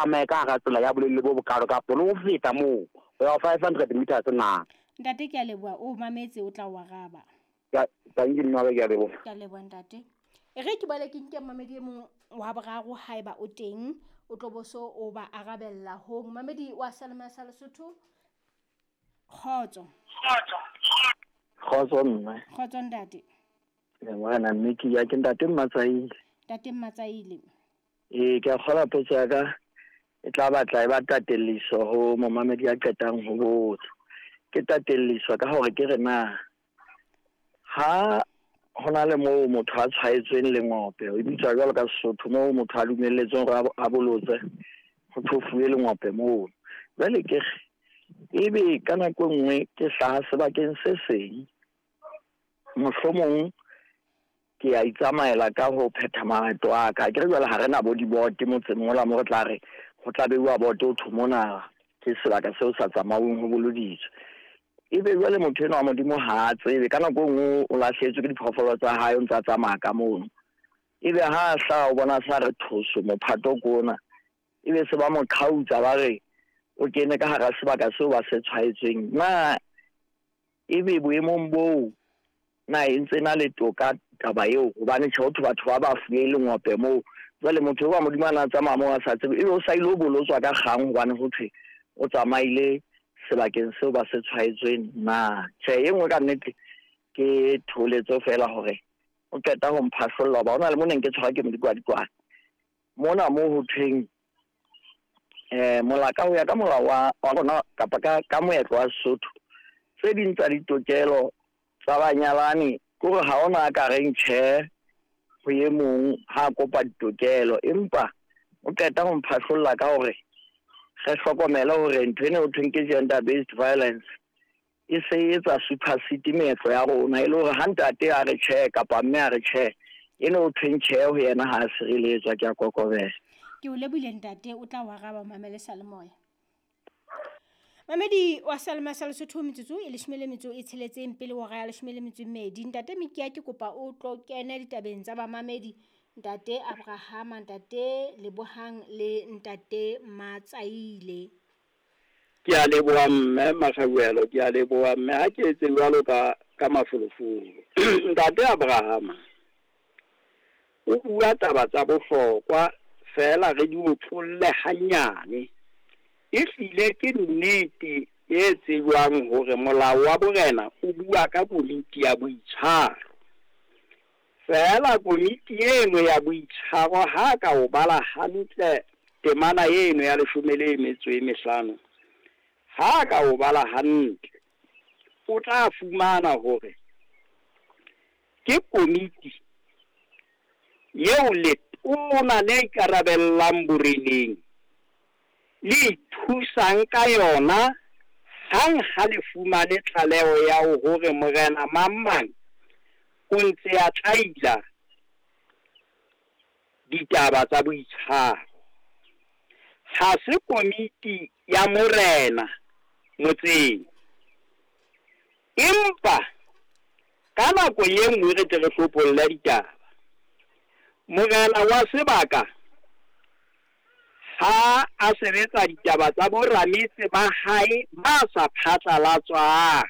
Tsamaye ka hara tsela ya bolelele bo bokalo kapo le ho feta moo ho ya ho 500 meters na? Ntate ke a leboha o mametse o tla o araba. Ka tanki mme waka ke a leboha. Ke a leboha ntate. E re ke boele ke nke momamedi e mong wa boraro haeba o teng o tlo bo so o ba arabella hong. Momamedi wa Salema sa Lesotho. Kgotso. Kgotso mme. Kgotso ntate. Morena mme ke ya ke ntate Mmatsaile. Ntate Mmatsaile. Ee, ke a kgola potso ya ka e tla batla e ba tatelliso ho momamedi ya qetang ho botsa. Ke tatelliso ka hore ke re na ha ho na le moo motho a tshwaetsweng lengope, e bitswa jwalo ka Sesotho, moo motho a dumelletsweng hore a bolotse, ho thofuwe lengope moo. Jwale ke re ebe ka nako e nngwe ke hlaha sebakeng se seng, mohlomong ke a itsamaela ka ho phetha maeto a ka. Akere jwale ha re na bo dibote motseng mola mo re tla re ho tla beuwa bote ho thwe mona ke sebaka seo sa tsamauweng ho boloditswe. Ebe jwale motho enwa wa Modimo ha a tsebe, ka nako e nngwe o lahlehetswe ke diphoofolo tsa hae o ntse a tsamaya ka mono. Ebe ha a hlaha o bona sa re thoso mophato ke ona, ebe se ba mo qhautsa ba re o kene ka hara sebaka seo ba se tshwaetsweng. Na ebe boemong boo na e ntse na le toka taba eo? Hobane tjhe ho thwe batho ba ba fuwe lengope moo. Jwale motho eo wa Modimo a na tsamaya moo a sa tsebe, ebe o sa ile ho bolotswa ka kgang hobane ho thwe o tsamaile sebakeng seo ba se tshwaetsweng na? Tjhe, e nngwe ka nnete ke thoholetso feela hore o qeta ho mphahlolla hoba ho na le mo neng ke tshwarwa ke modikwadikwane. Mona moo ho thweng molaka ho ya ka molao wa rona kapa ka moetlo wa Sesotho, tse ding tsa ditokelo tsa banyalani ke hore ha ona a ka reng tjhe ho e mong ha a kopa ditokelo, empa o qeta ho mphahlolla ka hore re hlokomele hore ntho ena ho thweng ke gender based violence e se e etsa supersede meetlo ya rona, e le hore ha ntate a re tjhe kapa mme a re tjhe, eno ho thweng tjhe ho yena ha a sireletswa. Ke a kokobela. Ke o lebohile ntate, o tla o araba o mamele salemoya. Mamedi wa Salema sa Lesotho, metsotso e 16 pele hora ya 12. Ntate Mikia ke kopa o tlo kene ditabeng tsa bamamedi, ntate Abrahama, ntate Lebohang le ntate Matsaile. Ke a leboha mme Makgauelo, ke a leboha mme ha ke etse jwalo ka mafolofolo. Ntate Abrahama o bua taba tsa bohlokwa feela re di otlolle hanyane. Ehlile ke nnete e tsejwang hore molao wa borena o bua ka komiti ya boitshwaro. Feela komiti eno ya boitshwaro ha ka o bala hantle temana eno ya 15, ha ka o bala hantle o tla fumana hore ke komiti eo letona le ikarabellang boreneng le ithusang ka yona hang ha le fumane tlaleho ya hore morena mang mang o ntse a tlaila ditaba tsa boitshwaro. Ha se komiti ya morena motseng, empa ka nako e nngwe re tle re hlopholle ditaba. Morena wa sebaka ha a sebetsa ditaba tsa borametse ba hae ba sa phatlalatswang,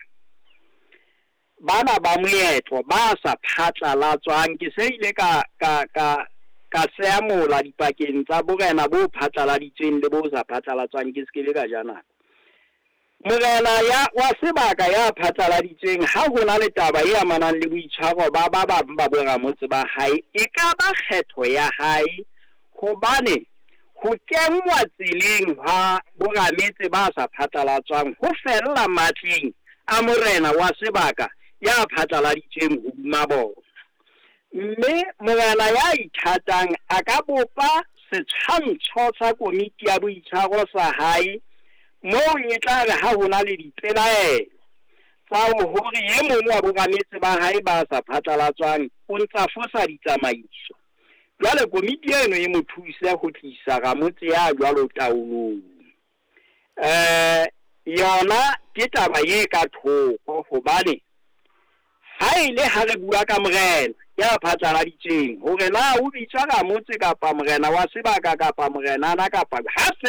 bana ba moetlo ba sa phatlalatswang, ke se ile ka seamola dipakeng tsa borena bo phatlaladitsweng le bo sa phatlalatswang, ke se ke le ka ja nako. Morena ya wa sebaka ya phatlaladitsweng ha ho na le taba e amanang le boitshwaro ba ba bang ba boramotse ba hae, e ka ba kgetho ya hae, hobane ho kenngwa tseleng ha borametse ba sa phatlalatswang ho fella matleng a morena wa sebaka ya phatlaladitsweng hodima bona. Mme morena ya ithatang a ka bopa setshwantsho sa komiti ya boitshwaro sa hae moo e tla re ha ho na le dipelaelo tsa hore e mong wa borametse ba hae ba sa phatlalatswang o ntsa fosa ditsamaiso. Jwale komiti eno e mo thuse ho tlisa ramotse ya jwalo taolong. Yona ke taba e ka thoko, hobane Ha e le ha re bua ka morena ya phatlaladitsweng hore na o bitswa ramotse kapa morena wa sebaka kapa morenana kapa ha.